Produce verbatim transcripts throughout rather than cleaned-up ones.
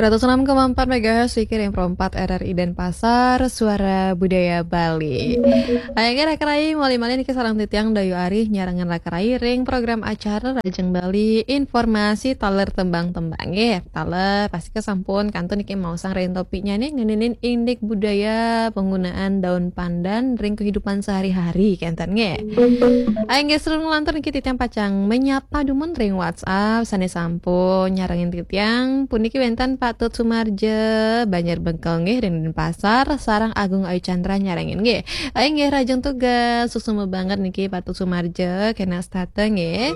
Seratus enam koma empat megahertz, Wiki ring Pro empat R R I Denpasar, Suara Budaya Bali. Ayo nggih, Raka Rai, malih-malih niki sareng titiang Dayu Arih nyarengin Raka Rai ring program acara Rajeng Bali, informasi taler tembang-tembang nggih. Taler pastika sampun kantun niki maosang ring topiknya nih, ngeninin indik budaya penggunaan daun pandan ring kehidupan sehari-hari kenten nggih. Ayo nggih, sareng nglantur niki titiang pacang menyapa dumun ring WhatsApp sane sampun nyarengin titiang. Puniki wenten Patut Sumarja, Banjar Bengkel nggih, ring Denpasar, sareng Agung Ayu Chandra nyarengin nggih. Ayo nggih, rajeng tugas, suksma banget niki Patut Sumarja, kena setata nggih.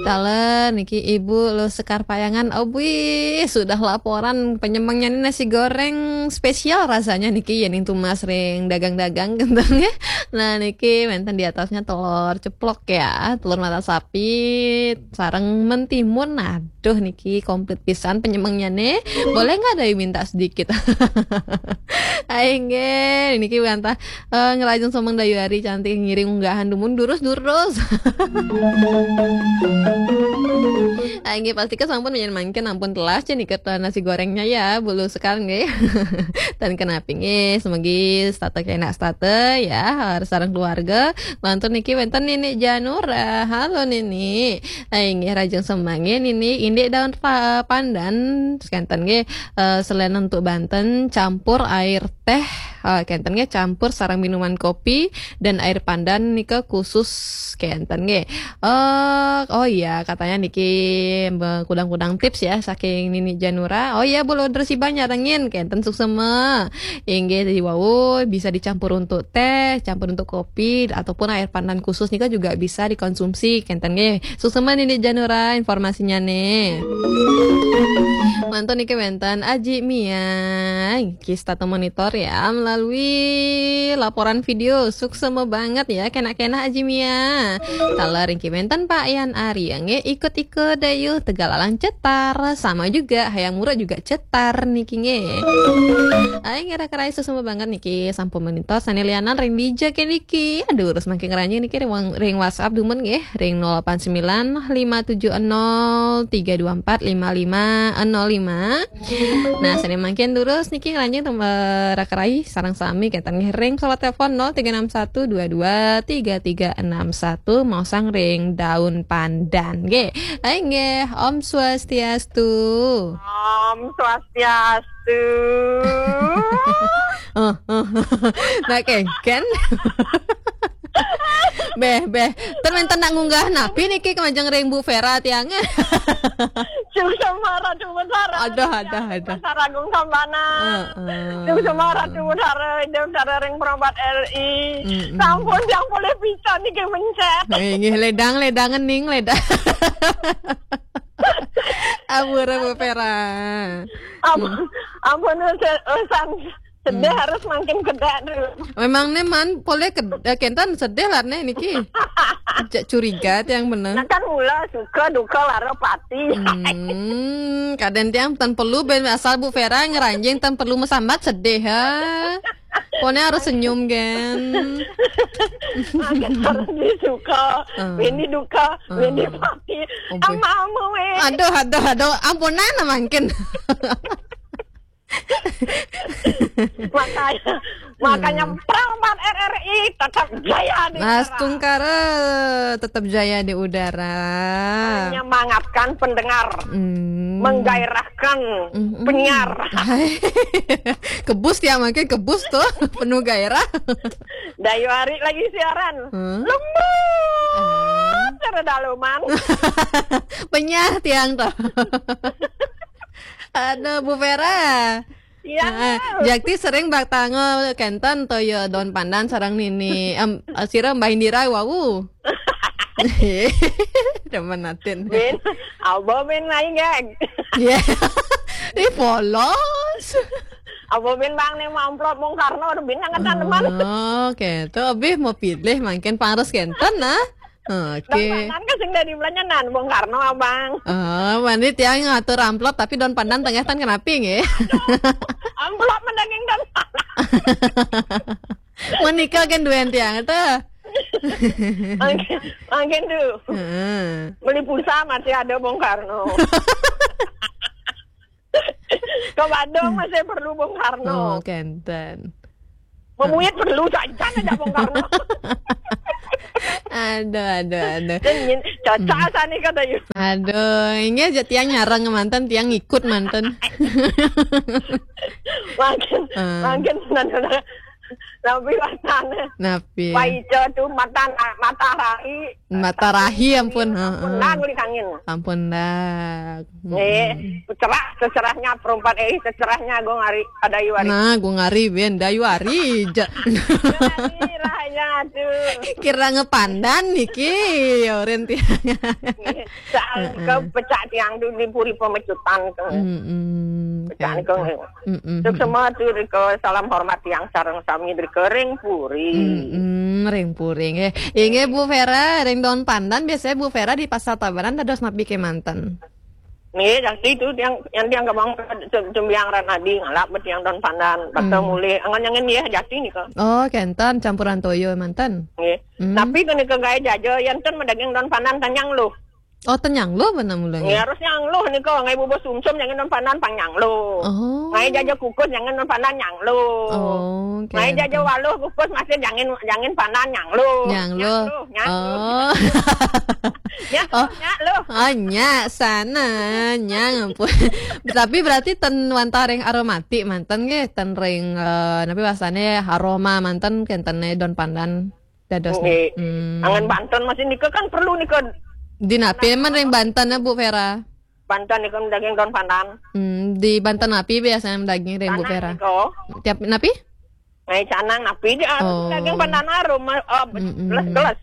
Taler niki Ibu Luh Sekar Payangan, obwih, sudah laporan penyemangnya ini nasi goreng spesial rasanya niki, yening tumas ring dagang-dagang kenten nggih. Nah, niki wenten di atasnya telur ceplok ya, telur mata sapi, sareng mentimun. Aduh, niki komplit pisan penyemangnya nih. Boleh nggak Dayu minta sedikit? Ayo nggih, niki wantah eh, ngerajeng semeng Dayu Ari cantik ngiring unggahan dumun durus-durus. Ayo nggih, pastika sampun menyen mangkin ampun telas cenah niki nasi gorengnya ya, Bu Luh Sekar nggih. Dan kenapi nggih, semegi setata kena setata ya, harus sareng keluarga. Lantur niki wenten Nini Janura. Halo Nini. Ayo nggih, rajeng semeng nggih Nini, indik daun pa- pandan, terus kenten nggih, eh, selain untuk banten, campur air teh, eh, kenten nggih, campur sareng minuman kopi dan air pandan nika khusus kenten nggih. Eh, oh iya, katanya niki be- kudang-kudang tips ya saking Nini Janura. Oh iya, Bu Luh Dresiba nyarengin kenten suksma. Inggih, jadi wau bisa dicampur untuk teh, campur untuk kopi, ataupun air pandan khusus nika juga bisa dikonsumsi kenten nggih. Suksma Nini Janura informasinya nih. Mantun niki wenten Aji Mia. Niki setata monitor ya melalui laporan video. Suksma banget ya, kena-kena Aji Mia. Taler niki wenten Pak Yan Ari nggih, ikut-ikut Dayu, Tegalalang cetar, sama juga Hayam Muruk juga cetar niki nggih. Ayo nggih, Raka Rai, suksma banget niki sampun monitor sane lianan ring dija ke niki. Aduh, terus mangkin ngranjing niki ring, ring WhatsApp dumun nggih, ring nol delapan sembilan lima tujuh nol tiga dua empat lima lima nol lima. Nah, sane mangkin durus niki ngranjing tem- eh, Raka Rai sareng sami kenten nggih ring pesawat telepon nol tiga enam satu dua dua tiga tiga enam satu, maosang ring daun pandan nggih. Ayo nggih, Om Swastiastu. Om Swastiastu. Eh, eh. Nah, kengken. Beh, beh. Ten wenten nak ngunggah napi niki kemajeng ring Bu Vera tiang. Suksma Ratu Betara. Aduh, aduh, aduh. Betara Agung Sabana. Heeh. Suksma Ratu Betara, Ida Betara ring Pro empat R I. Mm-mm. Sampun yang boleh bisa niki mencet. Eh, nggih, ledang, ledang, ngening, ledang. Ampun, Bu Vera. Ampun, ampun, urusan, urusan sedih harus mangkin kedek dulu. Memang nih man, boleh ke, eh, kenten sedih lah nih niki. Cek curiga tiang bener. Nah, kan mula suka duka lara pati. Hmm, kadang tiang tan perlu ben asal Bu Vera ngeranjing tan perlu mesambat sedih ha. Pone harus senyum gen. Mangkin harus disuka, Ah. Ini duka, Ah. Ini pati. Oh, boy. Ama-ama weh. Aduh, aduh, aduh, ampunan lah mangkin. Makanya, makanya Pro empat R R I tetap jaya di Mas udara. Tungkara tetap jaya di udara. Menyemangatkan pendengar, Hmm. Menggairahkan Mm-mm. Penyiar. Hai. Kebus tiang mangkin kebus tuh, penuh gairah. Dayu Ari lagi siaran. Hmm? Lembut. Ah. Cara daleman. Penyah tiang tuh. Aduh, Bu Vera. Iya. Heeh, Jakti sering baktango kenten toya daun pandan sareng Nini. Em, sira Mbah Indira wau. Demen atin. Bin, apa bin naik gak? Iya. Ih, polos. Apa bin bang nih mau amplop Bung Karno, udah bin yang ngetan teman. Oh, oke. Tuh, abis mau pilih mangkin pangrus kenten nah. Oke. Dong, kan sing dari belanjanan Bung Karno, Abang. Oh, mani tiang ngatur amplop tapi daun pandan tengah tan kenapi nggih? Amplop mendaging dan menikah kan duen tiang tuh. Mangkin, mangkin tuh. Heeh. Beli pulsa masih ada Bung Karno. Kok Badung masih perlu Bung Karno. Oh, kenten. Memuit perlu saja ada Bung Karno. Aduh, aduh, aduh. Dan nyin, cocok Hmm. Sani kata you. Aduh, ini aja tiang nyarang manten, tiang ikut manten. Makin, Ah. makin, nah, nah, nah. Tapi matanya. Napi? Wah, ijo tuh mata, matahari. Matahari, ampun, Ampun, heeh. Nang, uli kangin. Ampun, dah. Nih, Mm-mm. Cerah, secerahnya perempat, eh, secerahnya gue ngari pada Iwari. Nah, gue ngari, ben, dah Iwari, ja. Iwari, rahanya, aduh. Kira ngepandan niki, ya, Ren, tiang. Soal Heeh. Ke pecak tiang tuh di puri pemecutan ke. Mm-mm. Pecak Kayak ke. Itu. Mm-mm. Terus semua tuh ke salam hormat tiang sareng sami dari kering puri. Mm-mm, ring puri, nggih. Inggih, Bu Vera, ring daun pandan, biasanya Bu Vera di Pasar Tabanan dados napi kemanten? Nggih, jadi itu yang, yang tiang kemang cem-, cembiang ran adi ngalap bet yang daun pandan, bakal Hmm. mulih, angan-angan ya, jadi nih kok. Oh, kenten, campuran toyo manten. Nggih. Hmm. Tapi kene ke gaya jaja, yang ten medaging daun pandan tanyang loh. Oh, tanyang loh, mana mulanya? Nggih, harus nyang loh nih kok, ngai bubur sumsum, jangan daun pandan pang nyang loh. Oh. Ngai jaja kukus, jangan daun pandan nyang loh. Oh, Ngai jaja kenten. Waluh kukus, masih jangan, jangan pandan nyang loh. Nyang loh. Nyang loh, nyang loh. Oh. Nyang Oh. Loh, nyang loh. Oh, nyak sana, nyang ampun. Tapi berarti ten wantah ring aromatik manten nggih, ten ring, eh, napi bahasane aroma manten kentene daun pandan dados Nggih. Hmm. Angan banten masih nika kan perlu nika. Di napi men ring banten, Bu Vera? Banten nika daging daun pandan. Hmm, di banten napi biasanya daging ring Bu Canang Vera? Nika. Tiap napi? Ngai canang napi di Oh. Daging pandan arum, eh, Mm-mm. Gelas-gelas.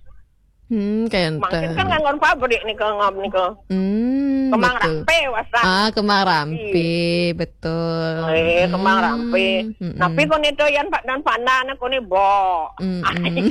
Hmm, kayak Mungkin enten. Kan nganggon pabrik nih ke ngop nih ke. Hmm, Kemang betul. Rampe, wasa. Ah, kemang rampe, Iya. Betul. Eh, kemang Hmm, rampe. Mm-mm. Tapi kau nih tuh yang pak dan pandan aku nih bo. Mm-mm.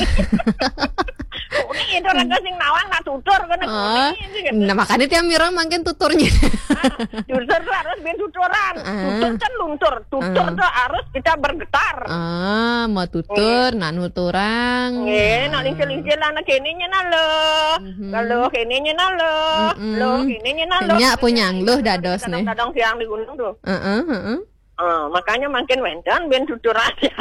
Ini itu raga sing nawang nak tutur kena Ah, kuning sih, gitu. Nah, makanya tiap mirang makin tuturnya. Ah, tutur tuh harus bin tuturan. Ah. Tutur kan luntur. Tutur Ah. Tuh harus kita bergetar. Ah, mau tutur, Iya. Nak nuturang. Nggih, nak Ah. Lincil-lincil anak kene nyen alo. Mhm. Kalau kene nyen alo. Mm-mm. Lo kene nyen alo. Nyak punyang lo dados nih. Kadang-kadang siang di gunung tuh. Heeh, heeh. Ah, makanya makin wenten ben tutur aja.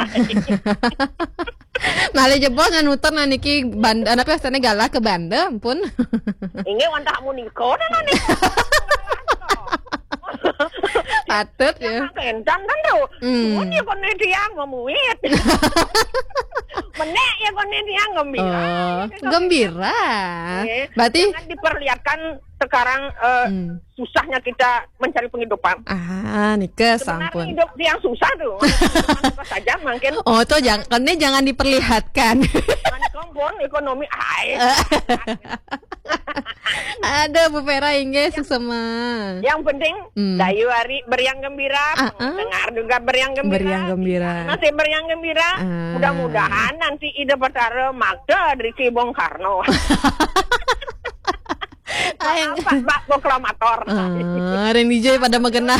Malih jebos nutur nah niki banda, apa sana galah ke banda, ampun. Ini wantah muniko nah nih. Patut ya. Kencang kan tuh. Hmm. Mun ya kene tiang memuit. Menek ya kene tiang gembira. Oh, gembira. Oke. Berarti jangan diperlihatkan sekarang, eh, Hmm. Susahnya kita mencari penghidupan. Ah, nika Sebenarnya sampun. Hidup yang susah tuh. Apa saja mungkin. Oh, tuh jangan, ini jangan diperlihatkan. Jangan kompon ekonomi. Ai. Ada Bu Vera inggih suksema. Yang penting Hmm. Dayu Ari beriang gembira, Ah, ah. Dengar juga beriang gembira. Beriang gembira. Masih beriang gembira. Ah. Mudah-mudahan nanti Ida Batara makta dari Bung Karno. Aing. Pak, Pak, proklamator. Ah, Ren D J pada magenah.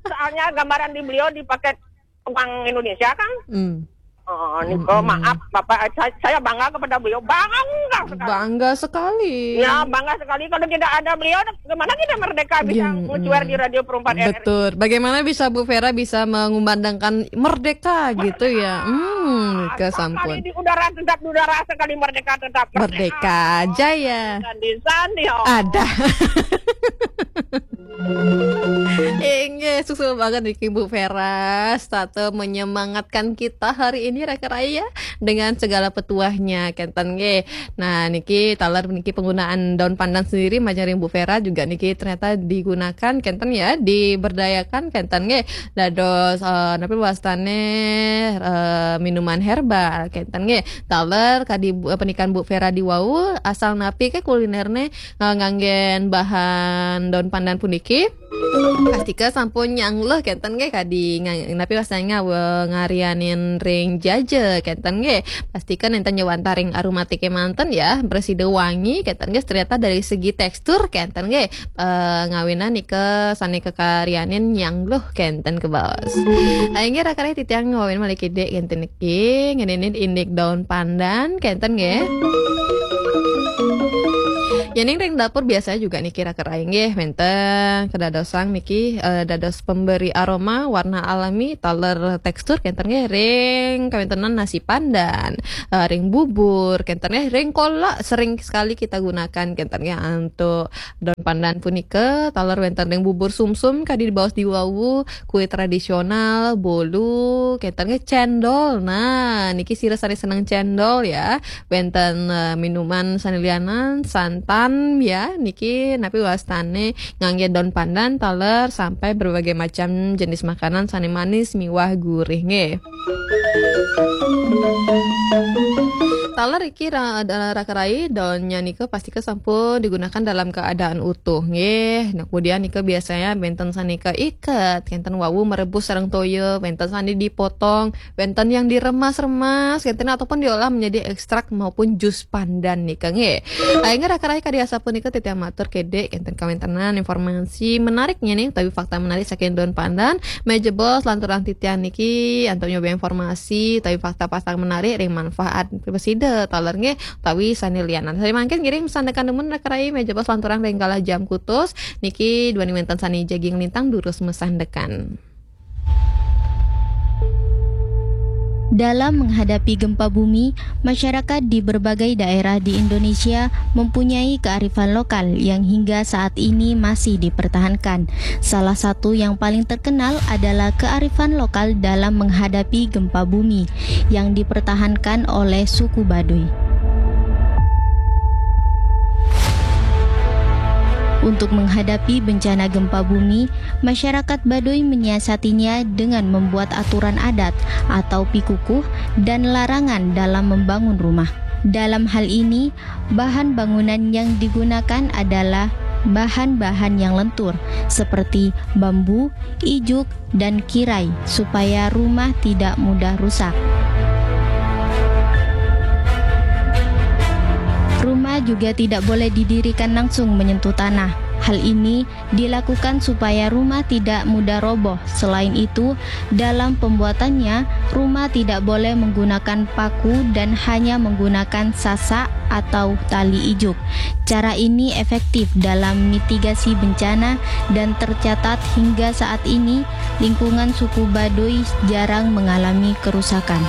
Soalnya gambaran di beliau dipakai Bank Indonesia kan. Hmm. Oh, Nico, hmm. Maaf, Bapak, saya, saya bangga kepada beliau. Bangga sekali. Bangga sekali. Ya, bangga sekali. Kalau tidak ada beliau, gimana kita merdeka bisa ya, mencuer di Radio Perempat R R I? Betul. Bagaimana bisa Bu Vera bisa mengumandangkan merdeka gitu ya? Hmm, kesampun. Sekali di udara tetap di udara, sekali merdeka tetap merdeka. Merdeka jaya. Dan di sana, oh. Ada. Inggih, suksma banget niki Bu Vera, satu menyemangatkan kita hari ini, Raka Raya, dengan segala petuahnya, kenten nggih. Nah, niki taler niki penggunaan daun pandan sendiri, majeng ring Bu Vera juga niki ternyata digunakan, kenten ya, diberdayakan, kenten nggih. Dados, eh, napi wastane, eh, minuman herbal, kenten nggih. Taler kadi Bu, eh, penikan Bu Vera di wau, asal napi ke kulinerne nga-, nganggen bahan daun pandan puniki. Pastika sampun nyangluh kenten nggih kadi nga-, napi wastane ngawe ngarianin ring jaja kenten nggih. Pastika nenten nyawantah ring aromatike manten ya, bersih wangi kenten nggih, ternyata dari segi tekstur kenten nggih, eh, ngawinan nika sane kakarianin nyangluh kenten kebos. Inggih Raka Raya, titiang ngawen malih kidik kenten niki ngeninin indik daun pandan kenten nggih. Ening ring dapur biasanya juga niki raka rai nggih wenten kedadosan niki, eh, dados pemberi aroma warna alami taler tekstur kenten nggih ring kawentenan nasi pandan, eh, ring bubur kenten nggih ring kolak sering sekali kita gunakan kenten nggih antuk daun pandan punika taler wenten ring bubur sumsum kadi dibaos diwawu kue tradisional, bolu, kenten nggih cendol. Nah, niki sira sane seneng cendol ya. Wenten, eh, minuman sane lianan, santan ya, niki napi wastane ngangge daun pandan, taler sampai berbagai macam jenis makanan sane manis miwah gurih nggih. Taler iki ra-, ra-, raka rai daunnya nika pastika sampun digunakan dalam keadaan utuh nggih. Nah, kemudian nika biasanya benten sane keiket, kenten wawu merebus sareng toya, benten sane dipotong, benten yang diremas-remas, kenten ataupun diolah menjadi ekstrak maupun jus pandan nika nggih. Akhirnya raka rai kadi asapunika titiang matur kedik kenten kawentenan informasi menariknya nih, tapi fakta menarik saking daun pandan. Menawi jebos lanturang titiang niki antuk nyoba informasi tapi fakta-fakta menarik ring manfaat pesida taler nggih utawi sane lianan. Sane mangkin ngiring masandekan dumun raka rai menawi jebos lanturang ring galah jam kutus niki duaning wenten sane jagi nglintang durus masandekan. Dalam menghadapi gempa bumi, masyarakat di berbagai daerah di Indonesia mempunyai kearifan lokal yang hingga saat ini masih dipertahankan. Salah satu yang paling terkenal adalah kearifan lokal dalam menghadapi gempa bumi yang dipertahankan oleh suku Baduy. Untuk menghadapi bencana gempa bumi, masyarakat Baduy menyiasatinya dengan membuat aturan adat atau pikukuh dan larangan dalam membangun rumah. Dalam hal ini, bahan bangunan yang digunakan adalah bahan-bahan yang lentur seperti bambu, ijuk, dan kirai supaya rumah tidak mudah rusak. Rumah juga tidak boleh didirikan langsung menyentuh tanah. Hal ini dilakukan supaya rumah tidak mudah roboh. Selain itu, dalam pembuatannya, rumah tidak boleh menggunakan paku dan hanya menggunakan sasak atau tali ijuk. Cara ini efektif dalam mitigasi bencana dan tercatat hingga saat ini lingkungan suku Baduy jarang mengalami kerusakan.